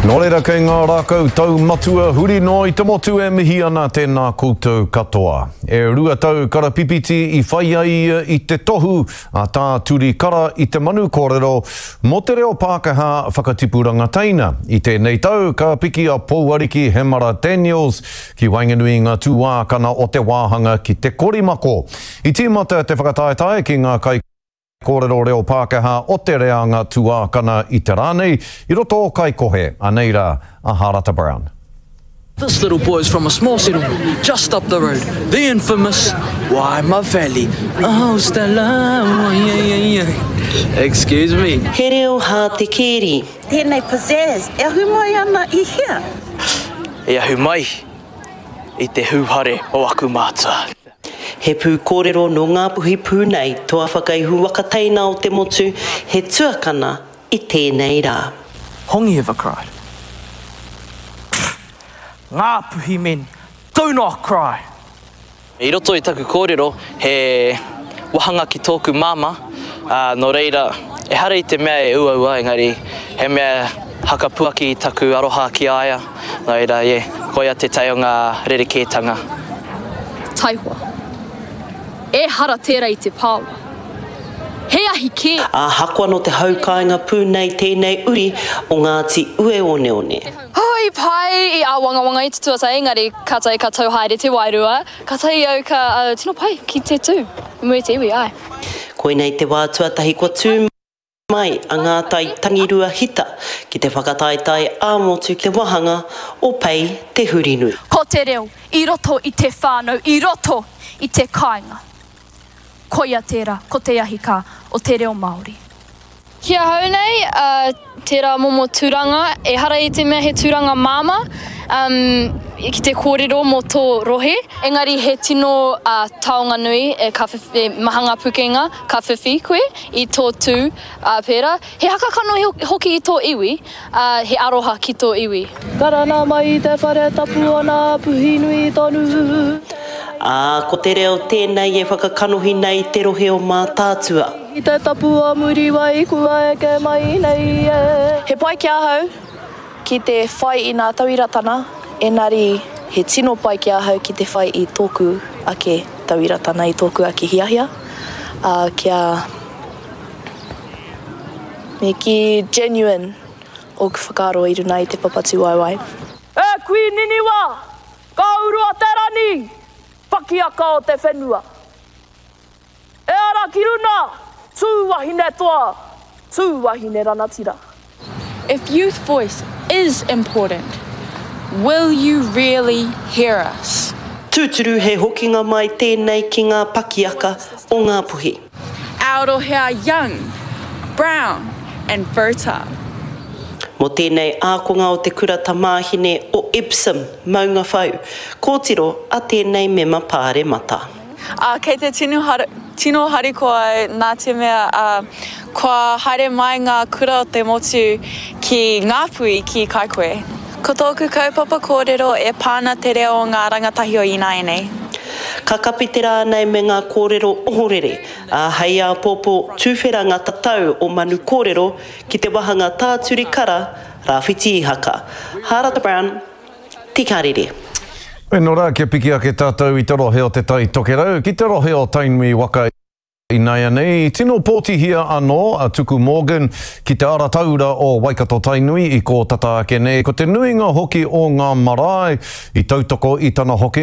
Nō reira kei ngā rākau taumatua huri noa i te motu e mihi ana tēnā koutou katoa. E 2 tau karapipiti i whai ai ia i te tohu a Tā Turi Kara i te manu kōrero mō te reo Pākehā whakatipuranga teina. I tēnei tau ka piki a Pouariki Hemara Daniels ki waenganui i ngā tūākana o te wāhanga ki te korimako. I tīmata te whakataetae ki ngā kai kōrero reo Pākehā o te reanga tuākana i te rā nei, i roto o Kaikohe, anei rā a Harata Brown. This little boy is from a small settlement just up the road, the infamous Waima Valley. Oh Stella, oh yeah yeah yeah. Excuse me. He reo hātekēri. Tēnei pizzazz e ahu mai ana i hea? E ahu mai i te hūhare o aku mātua. He pūkōrero nō Ngāpuhi pū nei, toa whakaihu waka teina o te motu, he tuakana i tēnei rā. Hongi ever cried? Pfft! Ngāpuhi men do not cry! I roto i taku kōrero, he wahanga ki tōku māmā, ā, nō reira, ehara i te mea e uaua, engari he mea hakapuaki i taku aroha ki a ia, nō reira, yeah, koia te tae o ngā rerekētanga. Taihoa. Ehara tērā i te pāoa. He ahi kē! Ahakoa nō te hau kāinga pū nei tēnei uri o Ngāti Ueoneone. Oh, i pai, i āwangawanga i te tuatahi, engari kātahi ka tau haere te wairua, kātahi au ka tino pai ki te tū i mua i te iwi, āe. Koinei te wā tuatahi kua tū mai a Ngātai Tangirua Hita ki te whakataetae ā-motu ki te wāhanga o Pei Te Hurinui. Ko te reo i roto i te whānau, i roto i te kāinga. Koia tērā, ko te ahi kā o te reo Māori. Ki ahau nei, tērā momo tūranga, ehara i te mea he tūranga māmā ki te kōrero mō tō rohe, engari he tino taonga nui, ka whiwhi, maha ngā pukenga ka whiwhi koe i tō tū pērā. He haka kanohi hoki i tō iwi, ā, he aroha ki tō iwi. Karanga mai i te whare tapu o nā Puhinui tonu. Ā, ko te reo tēnei e whakakanohi nei te rohe o Mātaatua. I te tapu o Muriwai kua eke mai nei e. He pai ki ahau ki te whai i nā tauiratana, enari he tino pai ki ahau ki te whai i tōku ake tauiratana, i tōku ake hiahia, ā, kia. Me kī genuine ōku whakaaro i runa i te papa tūwaewae. E kui Niniwa, ka urua te rani, pakiaka o te whenua. E ara ki runa, tū wahine toa, tū wahine ranatira. If youth voice is important, will you really hear us? Tūturu he hokinga mai tēnei ki ngā pakiaka o Ngāpuhi. Our rohe are young, brown and fertile. Mō tēnei ākonga o te kura tamāhine o Epsom, Maungawhau, kōtiro a tēnei mema pāremata. Ā, kei te tino, tino harikoa au nā te mea, ā, kua haere mai ngā kura o te motu ki Ngāpuhi, ki Kaikohe. Ko tōku kaupapa kōrero e pā ana te reo o ngā rangatahi o ināianei. Ka kapi te rā nei me ngā kōrero ohorere, ā, hei āpōpō tuwhera ngā tatau o Manu Kōrero ki te wahanga Tāturi Kara, Rāwhiti Ihaka. Hārata Brown, Te Karere. Weno rā kia piki ake tātou i te rohe o Te Tai Tokerau ki te rohe o Tainui waka inaianei. I tino pōtihia anō a Tuku Morgan ki te ara taura o Waikato-Tainui i kō tata ake nei. Ko te nuinga hoki o ngā marae i tautoko i tana hokinga.